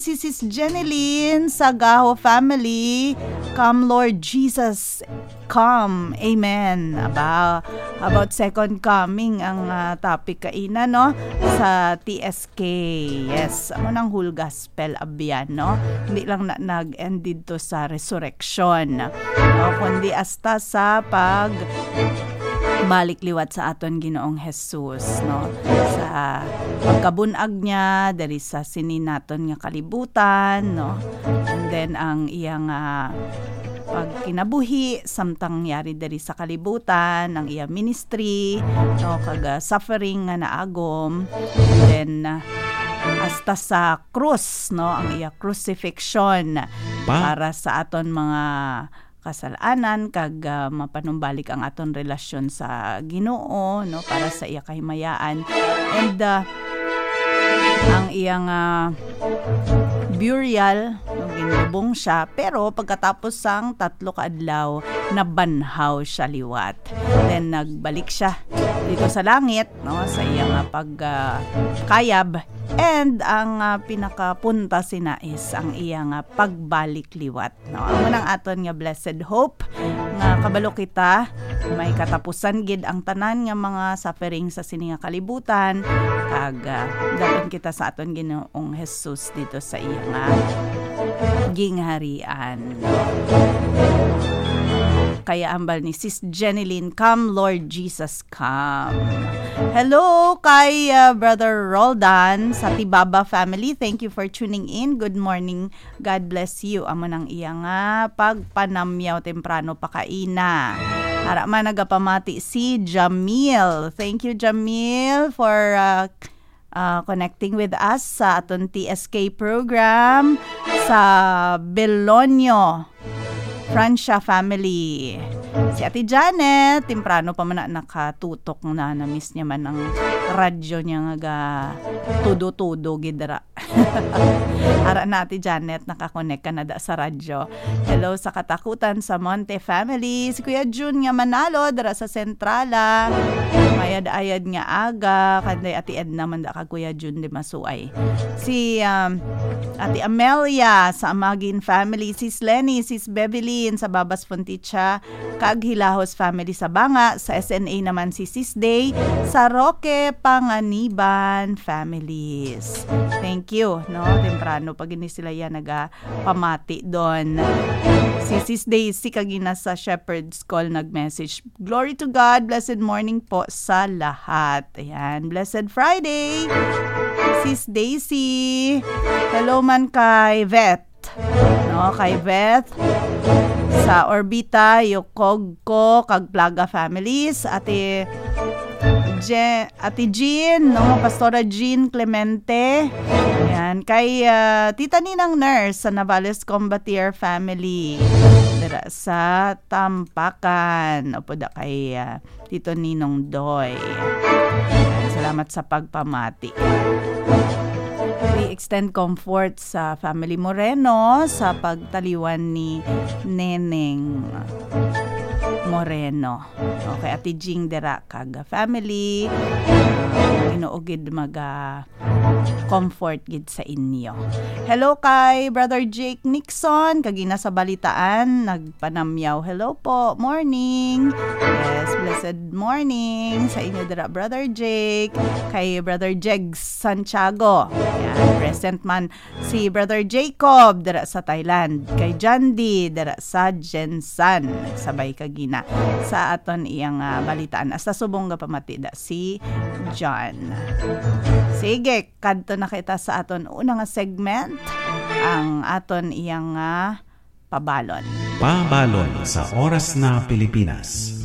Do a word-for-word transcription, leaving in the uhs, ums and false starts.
Happy Sis Jenilyn sa Gaho family. Come, Lord Jesus, come. Amen. Aba, about second coming ang, ah, topic kaina, no? Sa T S K. Yes, amo nang whole gospel abyan, no? Hindi lang na nag-end dito sa resurrection, no? Kundi hasta sa pag balik liwat sa aton Ginoong Jesus, no? Sa pagkabunag niya diri sa sini naton nga kalibutan, no? And then ang iya nga pagkinabuhi samtang yari diri sa kalibutan, ang iya ministry, no, kag, ah, suffering nga naagom, and then, ah, hasta sa krus, no, ang iya crucifixion Pa- para sa aton mga kasalanan, kag, ah, mapanumbalik ang aton relasyon sa Ginoo, no, para sa iya kahimayaan. And, ah, ang iya nga burial, no, ginlubong siya, pero pagkatapos sang tatlo ka adlaw, nabanhaw siya liwat. Then nagbalik siya dito sa langit, no, sa iya nga pag, ah, kayab. And ang, ah, pinakapunta sina is ang iya nga pagbalik liwat. No, amo nang aton nga blessed hope nga kabalo kita may katapusan gid ang tanan nga mga suffering sa sini nga kalibutan, kag, ah, daton kita sa aton Ginoong Jesus dito sa iya nga gingharian. Kaya ambal ni Sis Jenilyn, "Come, Lord Jesus, come." Hello kay, ah, Brother Roldan sa Tibaba family. Thank you for tuning in. Good morning. God bless you. Amo nang iya nga pagpanamyaw temprano pa kaina. Ara man nagapamati si Jamil. Thank you, Jamil, for, uh, uh, connecting with us sa aton T S K program sa Belonio, Francia family. Si Ate Janet, temprano pa man na nakatutok na, na-miss niya man ang radyo niya nga ga tudo-tudo gid ra. Ara na, Ate Janet, nakakonek ka na da sa radyo. Hello sa Katakutan sa Monte family. Si Kuya Jun nga Manalo, dira sa Centrala. Mayad-ayad nga aga. Kanday Ate Edna man da kag Kuya Jun di masuay. Si, um, Ate Amelia sa Amagin family. Sis Lenny, Sis Bevelyn sa Babas Fonticha. Kag Hilahos family sa Banga, sa S N A naman si Sis Day, sa Roque Panganiban families. Thank you, no? Temprano pa gini sila yan nagapamati doon. Si Sis Daisy kagina sa Shepherd's Call nag-message, "Glory to God, blessed morning po sa lahat." Ayan, blessed Friday, Sis Daisy. Hello man kay Vet. No, kay Beth, sa Orbita, Yokogko, kag Plaga families, Ate Je-, Ate Jean, no, Pastora Jean Clemente. Yan, kay, ah, Tita Ninang Nurse sa Navales Combatier family. Dira sa Tampakan. Opo da kay, ah, Tito Ninong Doy. Ayan, salamat sa pagpamati. We extend comfort sa family Moreno sa pagtaliwan ni Neneng Moreno. Okay, Ate Jing dira kag family. Ah, Ginoo gid maga comfort gid sa inyo. Hello kay Brother Jake Nixon, kagina sa balitaan, nagpanamyaw. Hello po, morning. Yes, blessed morning sa inyo dira, Brother Jake. Kay Brother Jegs Santiago. Yan, present man si Brother Jacob dira sa Thailand. Kay Jandy dira sa Gensan. Nagsabay kagina sa aton iyang, ah, balitaan. Hasta subong nga pamati da si John. Sige, kadto na kita sa aton una nga segment, ang aton iyang, ah, pabalon. Pabalon sa Oras na Pilipinas.